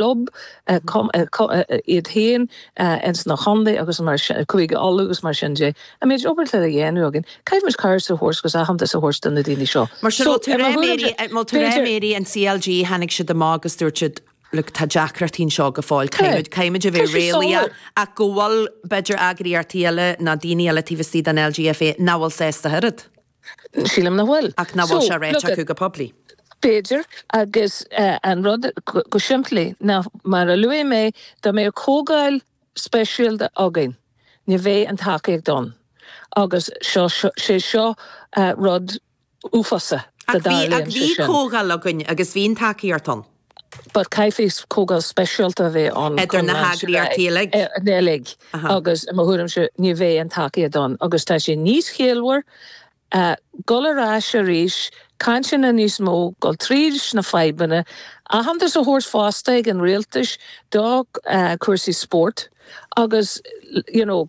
Club iad féin ins na chontae agus mar sin, Cúige Uladh agus mar sin de. An méid obair atá le dhéanamh againn, caithfimid cabhair a thabhairt agus aitheantas a thabhairt do na daoine seo. Mar sin, bhfuil tú ag rá, Mary, bhfuil tú ag rá, Mary, an CLG, tháinig siad amach agus dúirt siad, look, tá deacrachtaí anseo go fóill, caithfimid, caithfimid a bheith réalaíoch, ach go bhfuil, b'fhéidir, eagraíochtaí eile nó daoine eile taobh istigh den LGFA nach bhfuil sásta ach oiread. Sílim nach bhfuil. Ach nach bhfuil sé ráite acu go poiblí. B'fhéidir, agus an rud go simplí ná, mar a luaigh mé, dá mbeadh comhdháil speisialta againn, ní bheadh an tacaíocht ann. Agus seo, sé seo rud uafásach dá dtarlaíonn sé sin. Ach bhí comhdháil againn agus bhí an tacaíocht ann. But caithfidh comhdháil speisialta a bheith ann Idir na heagraíochtaí uilig. uilig agus i mo thuairimse ní bheidh an tacaíocht ann agus tá sé níos ciallmhar dul ar ais arís, cainteanna níos mó, dul tríd na fadhbanna, aitheantas a thabhairt fosta ag an rialtais do cúrsaí spóirt agus you know,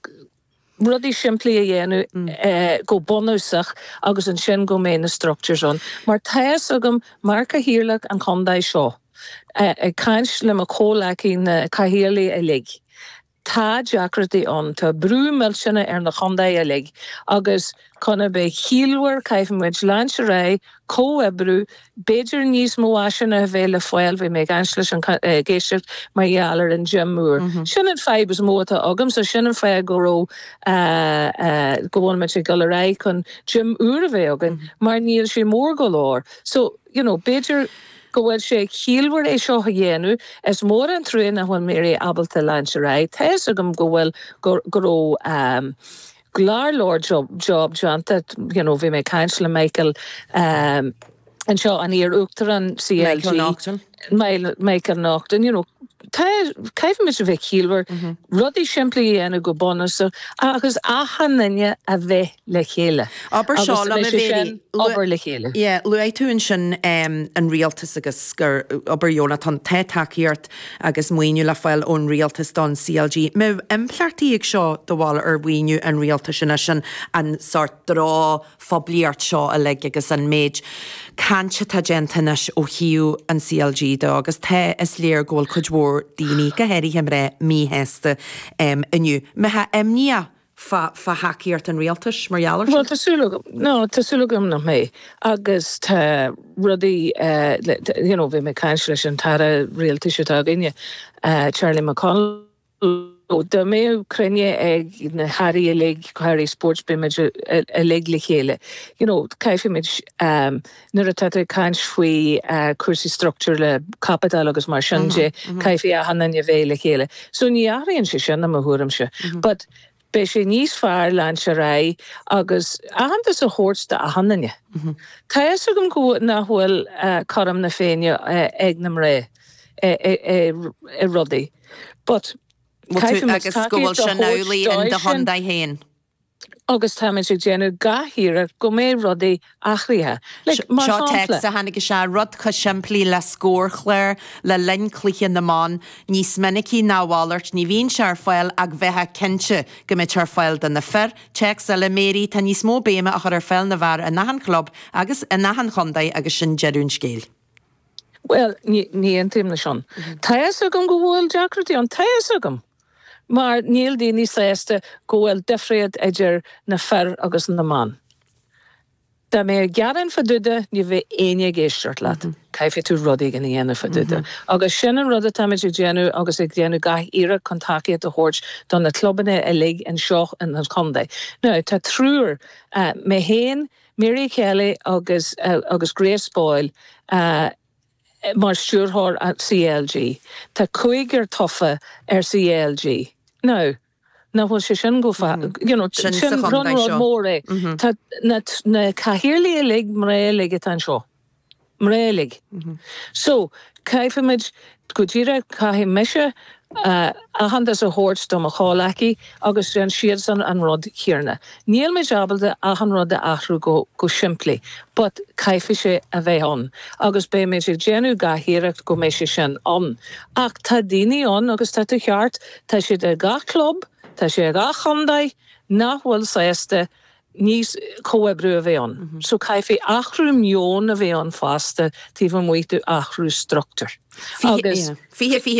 rudaí simplí a dhéanamh go bunúsach agus ansin go mbeidh na structures ann. Mar tá fhios agam, mar cathaoirleach an chontae seo, ag caint le mo chomhleacaí na cathaoirligh uilig, tá deacrachtaí ann, tá brú millteanach ar na chontae uilig agus chun a bheith ciallmhar caithfimid leanúint ar aghaidh, comhoibriú, b'fhéidir níos mó áiseanna a bheith le fáil, bhí mé ag caint leis an ag éisteacht mar gheall ar an gym úr. Sin an fadhb is mó atá agamsa, sin an fáth go raibh go bhfuil muid ag dul ar aghaidh chun gym úr a bheith againn mar níl sé mór go leor. So, you know, b'fhéidir go bhfuil sé ciallmhar é seo a dhéanamh, is mór an trua nach bhfuil Mary ábalta leanúint ar aghaidh, tá fhios agam go bhfuil go raibh go leor leor job déanta, you know, bhí mé ag caint le Michael anseo, an iar-uachtarán CLG. Michael Naughton. Michael Naughton, you know, tá, caithfimid a bheith ciallmhar, rudaí simplí a dhéanamh go bunúsach agus achan duine a bheith le chéile. Abair seo Agus liom, a bheidh sé Mhary, sin obair le chéile. Yeah, luaigh tú ansin an rialtas agus gur obair dheonach atá ann, tá tacaíocht agus maoiniú le fáil ón rialtas don CLG. Mbeadh impleachtaí ag seo do bharúil ar mhaoiniú an rialtais anois, an an sórt drochphoiblíocht seo uilig agus an méid cainte atá déanta anois ó thaobh an CLG de agus tá, is léir go bhfuil cuid mhór daoine, go háirithe mná, míshásta inniu. Mbeifeá imníoch fá thacaíocht an rialtais mar gheall air sin? Bhuel, tá súil agam, no, tá súil agam nach mbeidh. Agus tá rudaí, you know, bhí mé ag caint leis an tAire Rialtais atá againne, Charlie McConalogue, dá mbeadh cruinniú ag na hAirí uilig, Airí Spóirt, beidh muid uilig le chéile. You know, caithfimid, nuair atá tú ag caint faoi cúrsaí structúr le caipiteal agus mar sin de, caithfidh achan duine a bheith le chéile. So ní athraíonn sé sin i mo thuairimse. But beidh sé níos fearr leanúint ar aghaidh agus aitheantas a thabhairt d'achan duine. Tá fhios agam go nach bhfuil cothrom na Féinne ag na mná i rudaí. But caithfimid Agus go bhfuil tacaíocht a sin thabhairt amhlaidh in dóibh do sin. chontae féin. Agus táimid ag déanamh gach iarracht go mbeidh rudaí athraithe. Like, mar Seo shampla. téacs a tháinig isteach, rud chomh simplí le scórchlár le linn cluiche na mban, níos minicí ná a mhalairt, ní bhíonn sé ar fáil ach bheifeá cinnte go mbeadh sé ar fáil do na fir. Téacs eile, Mary, tá níos mó béime á chur ar pheil na bhfear in achan chlub agus in achan chontae agus sin deireadh an scéil. Bhuel, ní aontaím leis sin. Tá fhios agam go bhfuil deacrachtaí ann, tá fhios agam! Mar níl daoine sásta go bhfuil difríocht idir na fir agus na mban. Dá mbeifeá ag gearán fá dtaobh de, ní bheidh éinne ag éisteacht leat. Caithfidh tú rud éigin a dhéanamh fá dtaobh de. Agus sin an rud atáimid ag déanamh agus ag déanamh gach iarracht chun tacaíocht a thabhairt do na clubanna uilig anseo in an chontae. Now, tá triúr, mé féin, Mary Kelly agus agus Grace Boyle, mar stiúrthóir CLG. Tá cúigear tofa ar CLG. Now, nach bhfuil sé sin go you know, Sin sa sin chontae rud seo. mór é. Tá na na cathaoirligh uilig, mná uilig atá anseo. Mná uilig. So, caithfimid, go díreach, caithfidh mise aitheantas a thabhairt do mo chomhleacaí agus déanann siadsan an rud céanna. Níl muid ábalta achan rud a athrú go go simplí but caithfidh sé a bheith ann agus beidh muid ag déanamh gach iarracht go mbeidh sé sin ann. Ach tá daoine ann agus tá tú ceart, tá siad i gach club, tá sé i gach chontae nach bhfuil sásta. Níos comhoibriú a bheith ann. So caithfidh athrú meoin a bheith ann fosta taobh amuigh d'athrú struchtúir. Agus. 20, 26.